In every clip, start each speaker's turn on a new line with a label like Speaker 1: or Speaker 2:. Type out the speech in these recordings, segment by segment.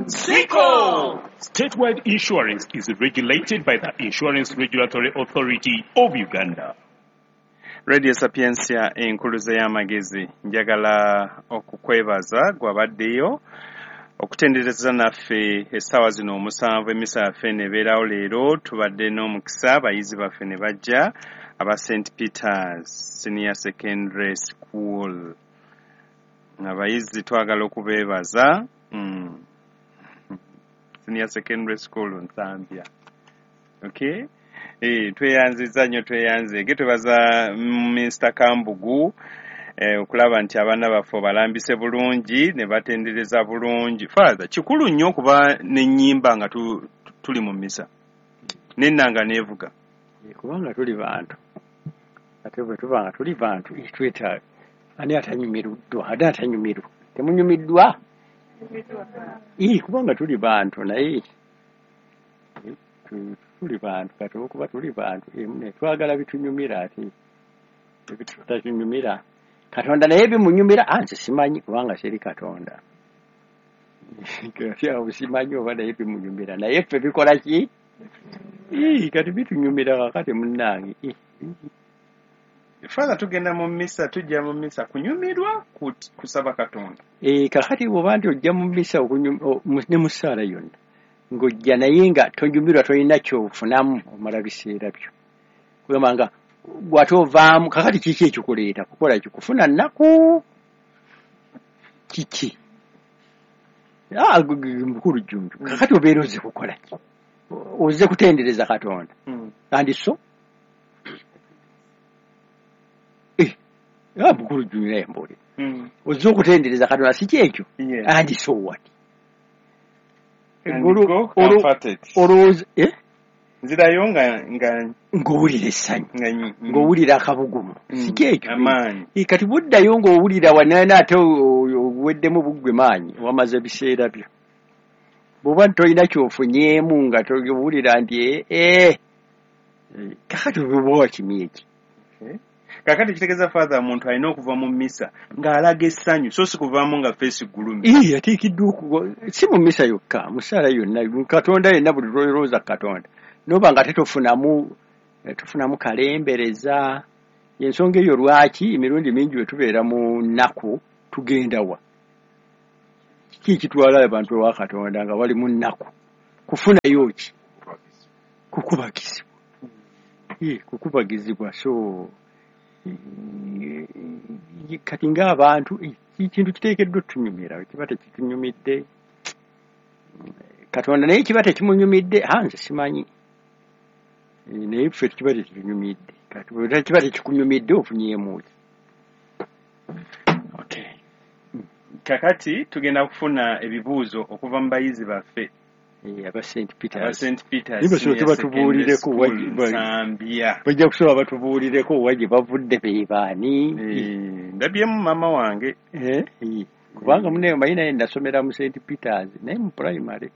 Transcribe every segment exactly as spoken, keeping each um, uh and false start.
Speaker 1: Siko!
Speaker 2: Statewide insurance is regulated by the Insurance Regulatory Authority of Uganda.
Speaker 3: Radio Sapientia enkuluze y'amagezi, njagala okukwebaza gwabaddeyo okutendereza naffe essaawa zino omusanvu. Emisa yaffe nebeerawo leero, tubadde n'omukisa abayizi baffe ne bajja aba Saint Peters Senior Secondary School. Abayizi twagala okubeebaza. mm. Senior Secondary School Nsambya. Okay, eh, tweyanziza nnyo, tweyanzeege. Twebaza Minisita Kambugu eh, okulaba nti abaana baffe obalambise bulungi ne batendereza bulungi. Father, kikulu nnyo okuba n'ennyimba nga tu, tuli mu misa n'ennanga neevuga.
Speaker 4: Kubanga tuli bantu, ate bwe tuba nga tuli bantu twetaaga ani atanyumiruddwa, ate atanyumirwa temunyumiddwa. Ii, kubanga tuli bantu, naye tuli bantu kati okuba tuli bantu emune twagala bitunyumira, ate ebitutanyumira Katonda naye bimunyumira. Anze simanyi kubanga seri Katonda, kati awo simanyi oba naye bimunyumira, naye ffe bikola ki? Ii, kati bitunyumira kakati munnange.
Speaker 3: Father, tugenda mu misa, tujja mu misa kunyumirwa, kusaba Katonda.
Speaker 4: Eh, kakati bw'oba nti ojja mu misa ne mu ssaala yonna ng'ojja naye nga tonyumirwa, tolina kyofunamu, omala biseera byo kugamba nga gwate ovaamu. Kakati kiki ekikuleeta kukola ki? Kufuna nnaku kiki? Mukulu Jjunju, kakati obeera ozze kukola ki? Ozze kutendereza Katonda kandi so mukulu Jjunju naye mbuulira, ozze okutendereza Katonda si kyekyo? And so what? Olowooza
Speaker 3: nzirayo nga
Speaker 4: ng'owulira essanyu, ng'owulira akabugumu, si kyekyo? Kati buddayo ng'owulira wanaana ate oweddemu buggwe maanyi, wamaze ebiseera byo. Bw'oba tolina kyofunyeemu nga towulira nti ee, kakati oba wakimye eki?
Speaker 3: Kakati kitegeeza Father, omuntu alina okuva mu misa ng'alaga essanyu, so si kuvaamu nga feesi gulumi.
Speaker 4: Ii, ateekeddwa si mu misa yokka, mu ssaala yonna, Katonda yenna, buli lw'olowooza Katonda noba nga tetofunamu tofunamu kalembereza. Ensonga eyo lwaki emirundi mingi bwe tubeera mu nnaku tugenda wa? Kiki ekitwala abantu ewa Katonda nga bali mu nnaku? Kufunayo ki? Kukubagizibwa. Ii, kukubagizibwa. So kati ng'abantu ekintu kiteekeddwa otunyumira, kiba tekitunyumidde Katonda naye kiba tekimunyumidde, nze simanyi, naye ffe kiba tekitunyumidde. Kati bwe kiba tekikunyumidde ofunyeemu ki?
Speaker 3: Okay, kakati tugenda kufuna ebibuuzo okuva mu bayizi baffe
Speaker 4: aba Saint Peters.
Speaker 3: Saint Peters
Speaker 4: batubuulireko, bajja kusobola batubuulireko wa gye bavudde, be baani.
Speaker 3: Ndabyemu maama wange,
Speaker 4: kubanga munne manyi naye nasomera mu Saint Peters naye mu primary.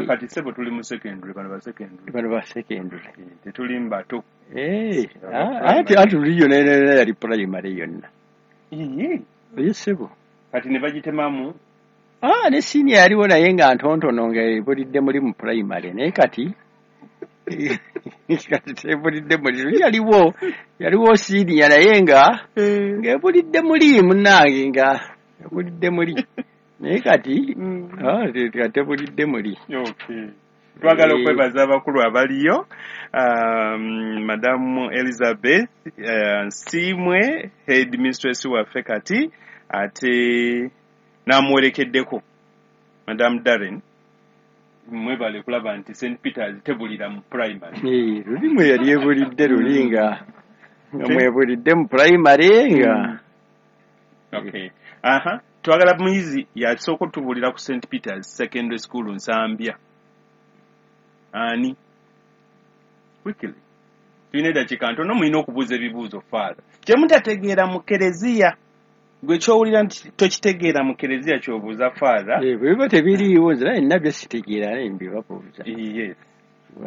Speaker 3: Kati ssebo tuli mu secondary, bano ba secondary,
Speaker 4: bano ba secondary
Speaker 3: tetuli mu bato.
Speaker 4: Anti anti luli yonna yonna yali primary yonna. Ye ssebo
Speaker 3: kati ne bagitemamu.
Speaker 4: Ah, ne senior yaliwo naye nga ntontono nga ebulidde muli mu primary, naye kati kati tebulidde muli. Yaliwo yaliwo senior naye nga ng'ebulidde muli munnange, nga ebulidde muli, naye kati ah, tebulidde muli.
Speaker 3: Okay, twagala okwebaza abakulu abaliyo, um, Madamu Elizabeth uh, Nsiimwe, head mistress waffe kati, ate namuwerekeddeko Madam Darren. Mwebale kulaba nti Saint Peters tebulira mu primary.
Speaker 4: Luli mwe yali ebulidde luli nga nga mwebulidde mu primary nga.
Speaker 3: Okay, aha, twagala muyizi yasooka otubulira ku Saint Peters Secondary School Nsambya. Ani? Quickly, tulina eddakiika ntono, mulina okubuuza ebibuuzo Father kyemutategeera mu kereziya. Gwe kyowulira nti tokitegeera mu kereziya ky'obuuza Father.
Speaker 4: Bwe biba tebiriiwo nze naye nabyo sitegeera, naye mbibabuuza.
Speaker 3: Yes.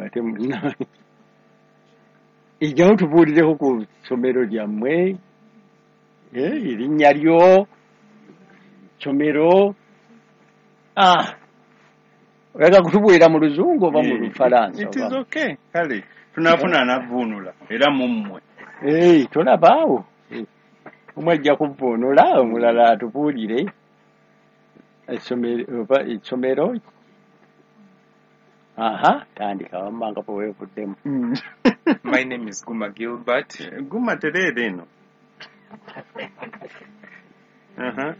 Speaker 4: Ate ejjawo tubuulireko ku ssomero lyammwe, erinnya lyo, ssomero, Ah, oyagala kutubuulira mu luzungu oba mu lufalansa?
Speaker 3: It is okay. Kale tunaafuna anavvuunula era mummwe.
Speaker 4: Ee, tolabaawo omu ajja kuvvuunula omulala atubuulire essomero. Aha, tandika wammanga bwe weevuddemu.
Speaker 5: My name is Guma Gilbert.
Speaker 3: Guma tereera eno. Uh-huh.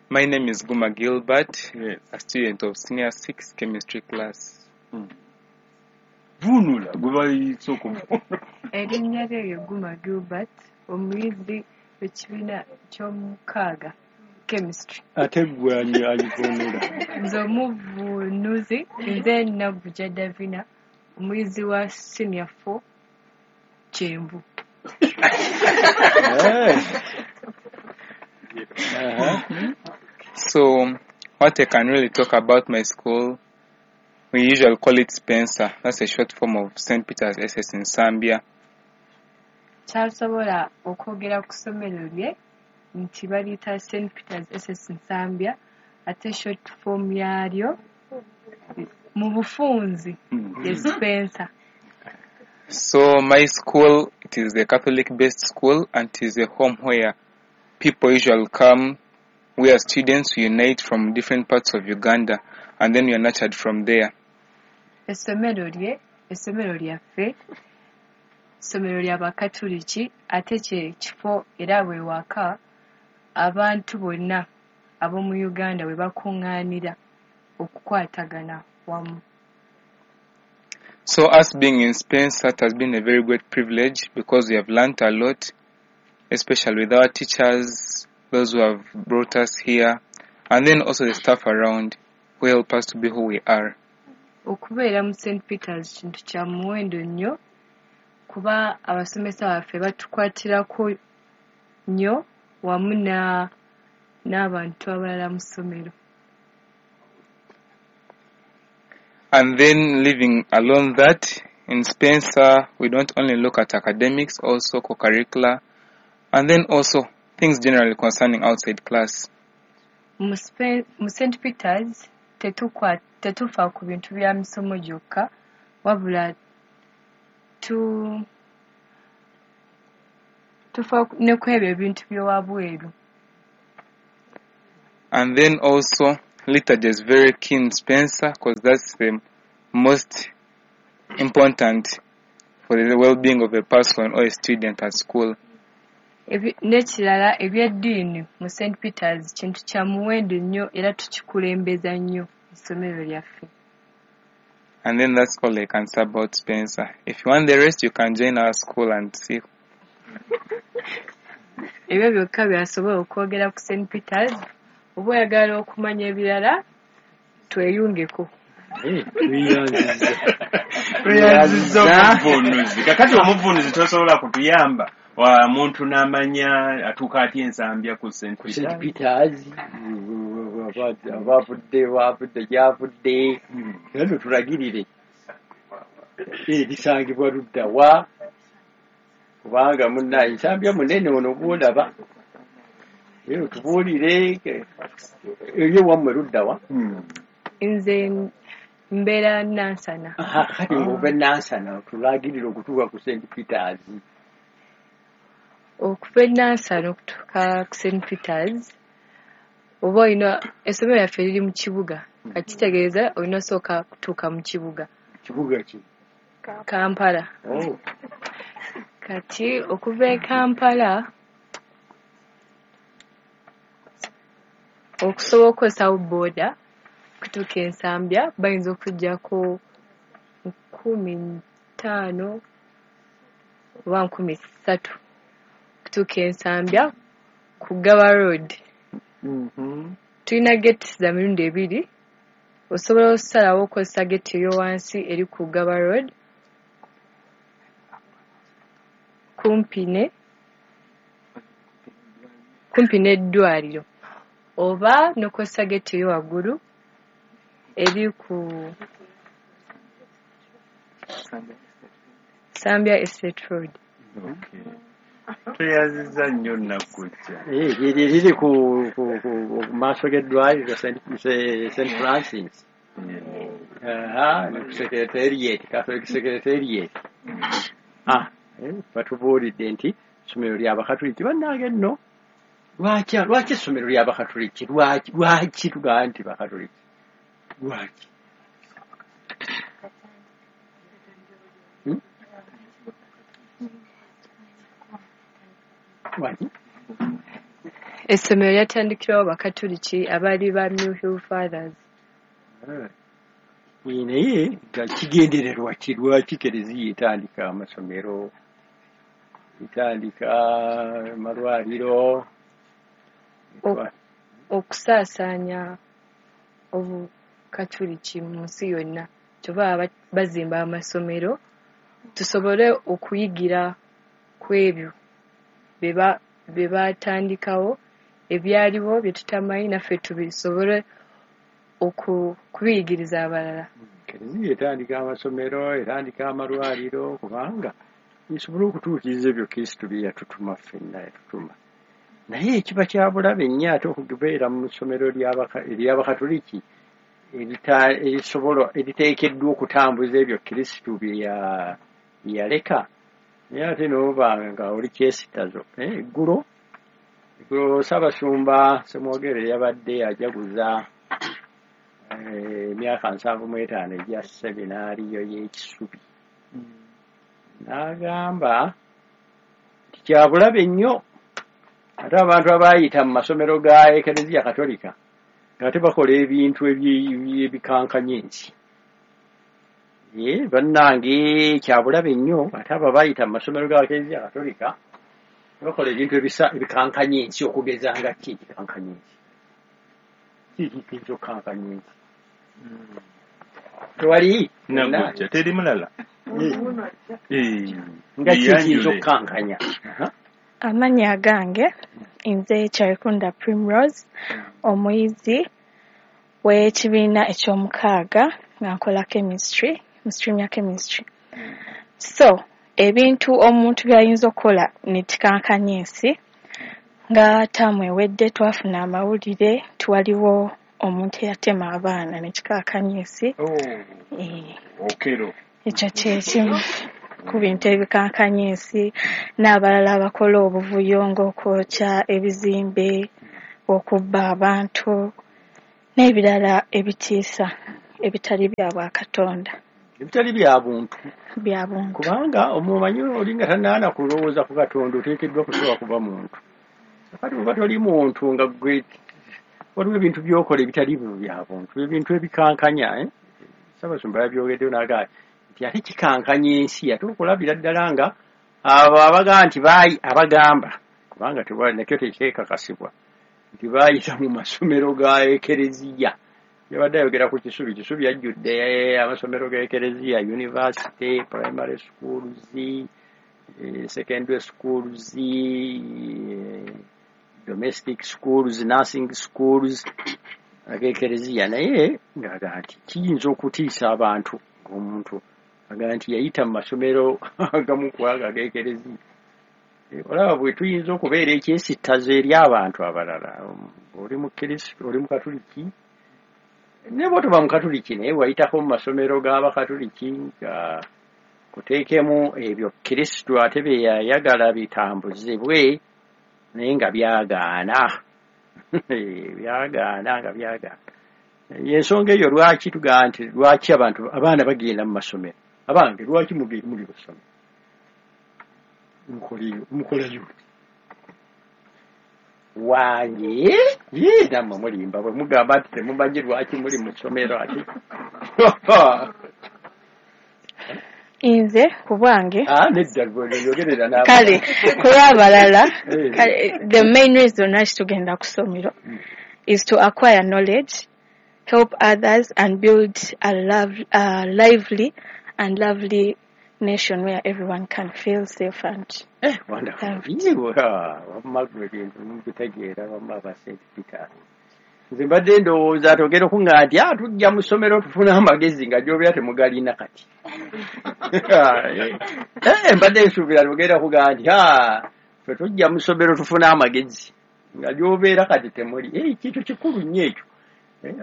Speaker 5: My name is Guma Gilbert,
Speaker 3: yes,
Speaker 5: a student of senior six chemistry class.
Speaker 3: Mm. Vunula, gwe bayise okuvvuunula.
Speaker 6: Erinnya lye ye Guma Gilbert, omuyizi w'ekibiina ky'omukaaga chemistry.
Speaker 4: Ate gwe ani alivvuunula?
Speaker 6: Nze omuvuunuzi, nze Nagujja Davina, omuyizi wa senior four Kyenvu.
Speaker 4: Uh-huh.
Speaker 5: So, what I can really talk about my school, we usually call it Spencer. That's a short form of Saint Peter's S S in Nsambya.
Speaker 6: Kyasobola okwogera ku ssomero lye nti baliyita Saint Peter's S S Nsambya, ate short form yalyo mu bufunzi ye Spencer.
Speaker 5: So my school, it is a Catholic-based school, and it is a home where people usually come. We are students, we unite from different parts of Uganda, and then we are nurtured from there.
Speaker 6: Essomero lye, essomero lyaffe, essomero ly'Abakatuliki, ate kye kifo era we waka abantu bonna ab'omu Uganda we bakuŋŋaanira okukwatagana wamu.
Speaker 5: So us being in Spencer, it has been a very great privilege because we have learnt a lot, especially with our teachers, those who have brought us here, and then also the staff around who help us to be who we are.
Speaker 6: Okubeera mu Saint Peter's kintu kya muwendo nnyo kuba abasomesa baffe batukwatirako nnyo wamu na n'abantu abalala mu ssomero.
Speaker 5: And then living along that, in Spencer, we don't only look at academics, also co-curricular, and then also things generally concerning outside class.
Speaker 6: Mu Saint Peter's, tetukwa tetufa ku bintu bya misomo gyokka, wabula tu tufa ne ku ebyo ebintu by'owabweru.
Speaker 5: And then also, liturgy is very key in Spencer because that's the most important for the well-being of a person or a student at school.
Speaker 6: N'ekirala eby'eddiini mu Saint Peter's kintu kya muwendo nnyo era tukikulembeza nnyo mu ssomero lyaffe.
Speaker 5: And then that's all I can say about Spencer. If you want the rest, you can join our school and see.
Speaker 6: Ebyo byokka by'asobola okwogera ku Saint Peter's. Oba oyagala okumanya ebirala, tweyungeko.
Speaker 3: Tweyanzizza omuvuunuzi. Kakati omuvuunuzi tosobola kutuyamba wa muntu n'amanya atuuka atya Ensambya ku Saint
Speaker 4: Saint Peter's, abavudde wavudde gyavudde, era tutulagirire erisangibwa ludda wa, kubanga munnaye Nsambya munene ono gw'olaba. Era tubuulire ebyo wammwe ludda wa.
Speaker 6: Nze mbeera Nansana.
Speaker 4: Kati ng'ova e Nansana tulagirire okutuuka ku Saint Peter's.
Speaker 6: Okuva e Nansana okutuuka ku Saint Peter's, oba olina essomero lyaffe liri mu kibuga, kati kitegeeza olina osooka kutuuka mu kibuga.
Speaker 4: Kibuga ki?
Speaker 6: Kampala.
Speaker 4: Oh.
Speaker 6: Kati okuva e Kampala okusobola okukozesa booda okutuuka e Nsambya bayinza okuggyako nkumi ttaano oba nkumi ssatu okutuuka e Nsambya ku Gaba Road.
Speaker 3: Mm-hmm.
Speaker 6: Tulina geeti za mirundi ebiri, osobola okusalawo okukozesa geeti ey'owansi eri ku Gaba Road kumpi ne kumpi n'eddwaliro, oba n'okozesa geeti ey'owaggulu eri ku Nsambya Estate Road.
Speaker 3: Okay. Tweyanzizza nnyo Naggujja.
Speaker 4: Eh, liri liri ku ku ku ku maaso g'eddwaliro Saint Saint Francis. Aha, ne ku secretariat, Catholic Secretariat. Ah, eh, batubuulidde nti essomero ly'Abakatuliki. Bannange nno, lwaki lwaki essomero ly'Abakatuliki? Lwaki lwaki tugamba nti Bakatuliki? Lwaki? Hmm? Lwaki?
Speaker 6: Essomero lyatandikirwawo Bakatuliki abaali ba Mill Hill Fathers.
Speaker 4: Eh, naye nga kigendererwa ki? Lwaki Kereziya etandika amasomero, etandika amalwaliro?
Speaker 6: Ok- Okusaasaanya Obukatuliki mu nsi yonna. Kyova baba bazimba amasomero tusobole okuyigira ku ebyo bye ba- bye baatandikawo, ebyaliwo bye tutamanyi, naffe tubisobole oku- kubiyigiriza abalala.
Speaker 4: Kereziya etandika amasomero, etandika amalwaliro, kubanga esobole okutuukiriza ebyo Kristo bye yatutuma ffenna, yatutuma. Naye ekiba kya bulabe nnyo ate okubeera mu ssomero ly'Abaka- ery'Abakatuliki erita- erisobola eriteekeddwa okutambuza ebyo Kristo bye ya- bye yaleka, naye ate n'oba nga oli kyesitazo. Eh, eggulo eggulo Ssaabasumba Ssemwogerere yabadde ajaguza eh, emyaka nsanvu mu etaano egya seminaariyo y'e Kisubi, n'agamba nti kya bulabe nnyo ate abantu abaayita mu masomero ga Ekereziya Katolika ng'ate bakola ebintu ebyi- ebikankanya ensi. Ye bannange, kya bulabe nnyo ate abo abaayita mu masomero ga Ekereziya Katolika bakola ebintu ebisa ebikankanya ensi. Okugeza nga ki ekikankanya ensi? Ki ekiyinza okukankanya ensi? Tewali.
Speaker 3: Naggujja, teri mulala? Eh,
Speaker 4: nga ki ekiyinza
Speaker 3: yeeyanjule.
Speaker 4: okukankanya? Aha.
Speaker 7: Amannya agange nze Kyarikunda Primrose, omuyizi w'ekibiina eky'omukaaga nga nkola chemistry mu stream ya chemistry. So ebintu omuntu by'ayinza okukola ne kikankanya ensi, nga taamu ewedde twafuna amawulire nti waliwo omuntu eyatema abaana ne kikankanya ensi.
Speaker 3: Oh,
Speaker 7: Eh,
Speaker 3: Okero.
Speaker 7: Ekyo kye kimu ku bintu ebikankanya ensi, n'abalala abakola obuvuyo ng'okwokya ebizimbe, okubba abantu n'ebirala ebitiisa ebitali bya bwakatonda.
Speaker 4: Ebitali bya buntu.
Speaker 7: Bya buntu.
Speaker 4: Kubanga omumanyi oli nga tannaana kulowooza ku Katonda, oteekeddwa kusooka kuba muntu. Kati bw'oba toli muntu, nga gwe waliwo ebintu by'okola ebitali bya buntu, ebintu ebikankanya, eh? Ssaabasumba yabyogeddeyo n'agamba nti ate kikankanya ensi ate okulabira ddala nga abo abagamba nti baayi abagamba, kubanga tewali nakyo tekyekakasibwa nti baayita mu masomero ga Ekereziya. Yabadde ayogera ku Kisubi. Kisubi yajjudde amasomero ga Ekereziya, university, primary schools, eh, secondary schools, eh, domestic schools, nursing schools ag'Ekereziya. Naye ng'agamba nti kiyinza okutiisa abantu ng'omuntu agamba nti yayita mu masomero agamu ku ago ag'Ekereziya. Eh, olaba bwe tuyinza okubeera ekyesittazo eri abantu abalala. Oli mukristo, oli mukatuliki, ne bw'otoba mukatuliki naye wayitako mu masomero g'Abakatuliki nga kuteekemu ebyo Kristo ate bye yayagala bitambuzibwe, naye nga byagaana, byagaana, nga byagaana. Yensonga eyo lwaki tugamba nti lwaki abantu abaana bagenda mu masomero. Abange, lwaki mugenda muli basomero? Mukoleyo, mukolayo wange ye, nammwe mulimba bwe mugamba nti temumanyi lwaki muli mu ssomero ate.
Speaker 7: Nze ku bwange
Speaker 4: Ah, nedda, gwe yogerera n'abalala.
Speaker 7: Kale ku lw'abalala,
Speaker 4: Eh.
Speaker 7: kale the main reason lwaki tugenda ku ssomero is to acquire knowledge, help others and build a, love, a lively and lovely nation where everyone can feel safe and
Speaker 4: Eh, wonderful. Iwe, ah, wamma gwe ebintu mubitegeera, wamma aba Saint Peter. Nze mbadde ndowooza togera okuŋŋamba nti ah, tujja mu ssomero tufune amagezi, nga gy'obeera temugalina kati. Eh, mbadde nsuubira togenda kugamba nti ah, Ffe tujja mu ssomero tufune amagezi nga gy'obeera kati temuli. Ekintu kikulu nnyo ekyo.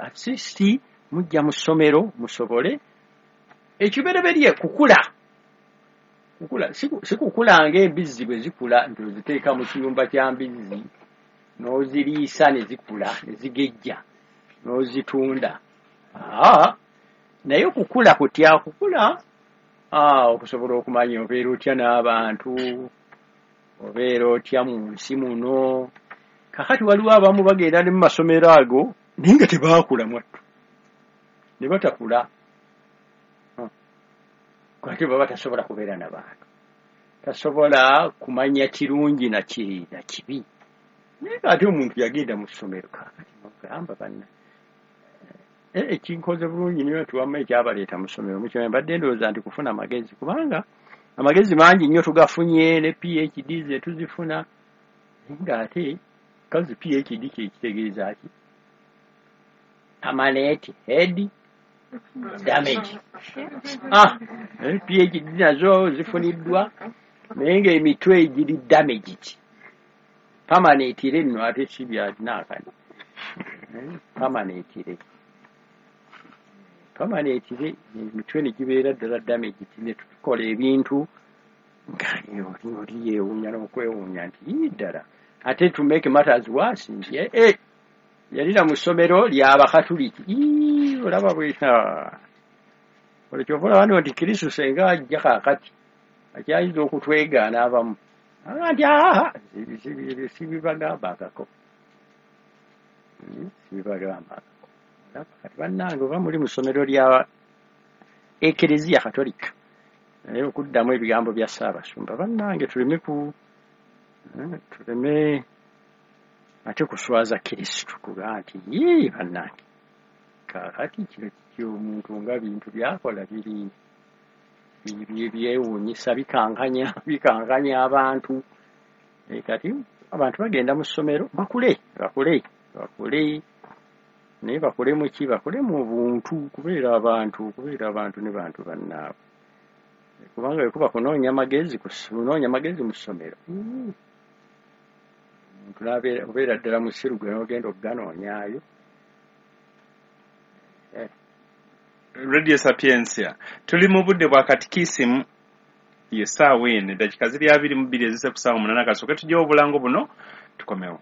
Speaker 4: At least mujja mu ssomero musobole ekibereberye kukula. Kukula si kukula ng'embizzi bwe zikula nti oziteeka mu kiyumba kya mbizzi n'oziriisa ne zikula ne zigejja n'ozitunda. Aa, naye kukula kutya? Kukula aa, okusobola okumanya obeera otya n'abantu, obeera otya mu nsi muno. Kakati waliwo abamu bagenda ne mu masomero ago naye nga tebaakula mwattu, ne batakula. Kati baba tasobola kubeera na bantu, tasobola kumanya kirungi na ki na kibi. Naye ate omuntu yagenda mu ssomero kakati mugamba banna ekinkoze bulungi nnyo nti wamma ekyabaleeta mu ssomero mukimanyi, mbadde ndowooza nti kufuna amagezi, kubanga amagezi mangi nnyo tugafunye ne P H D ze tuzifuna, ng'ate kazi P H D kye kitegeeza ki? Permanent head damage. Ah, P H D nazo zifuniddwa naye ng'emitwe egiri damaged. Permanent nno ate si bya naakano. Permanent permanent emitwe ne gibeera ddala damaged, ne tukola ebintu nga oli yeewuunya n'okwewuunya nti ii ddala. Ate to make matters worse nti eh yalina mu ssomero ly'Abakatuliki. Ii olaba bwe olwo kyova olaba nno nti Kristo senga ajja kaakati akyayinza okutwegaana abamu nti aa sibibagambangako, sibibagambangako. Kati bannange oba muli mu ssomero lya Ekereziya Katolika, naye okuddamu ebigambo bya Ssaabasumba, bannange tuleme ku tuleme ate kuswaza Kristo kuga nti yii bannange kaakati kino kiki omuntu nga bintu byakola biri byewuunyisa, bikankanya bikankanya abantu. Kati abantu bagenda mu ssomero bakule bakule bakule, naye bakule mu ki? Bakule mu buntu, kubeera abantu, kubeera abantu ne bantu bannaabwe, kubanga bwe kuba kunoonya magezi, kunoonya magezi mu ssomero omuntu n'abeera obeera ddala musiru gwe n'ogenda okuganoonyaayo.
Speaker 3: Radio Sapientia tuli mu budde bwa katikisimu, ye ssaawa eno eddakiika ziri abiri mu bbiri ezise ku ssaawa munaana. Kasooke tugyewo obulango buno tukomewo.